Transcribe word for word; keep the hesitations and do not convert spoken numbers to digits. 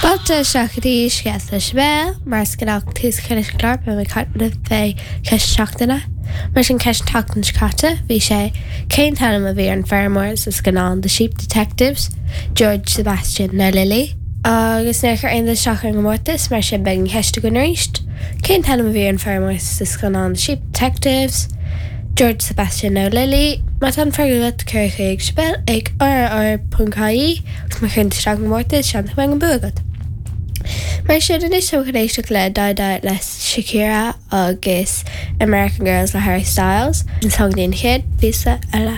Fáilte isteach go dtí Scéalta le Sibéal, mar is gnách tús a chur leis an gclár beidh mé ag caint libh fé cheist seachtaine. Mar sin ceist an tseachtain seo caite, bhí sé cén t-ainm a bhí ar an feirmeoir sa scannán The Sheep Detectives, George Sebastian nó Lily. Agus níor chuir aon duine isteach ar an gcomórtas mar sin beidh an cheist againn arís. Cén t-ainm a bhí ar an feirmeoir sa scannán The Sheep Detectives, George Sebastian nó Lily, Má tá an freagra agat cuir chuig Sibéal ag rr.ie agus má chuireann tú isteach an gcomórtas seans go mbeidh an bua agat. Mar sin anois tá chun éisteacht le Dai Dai le Shakira agus American Girls le Harry Styles, an song den chéad phíosa eile.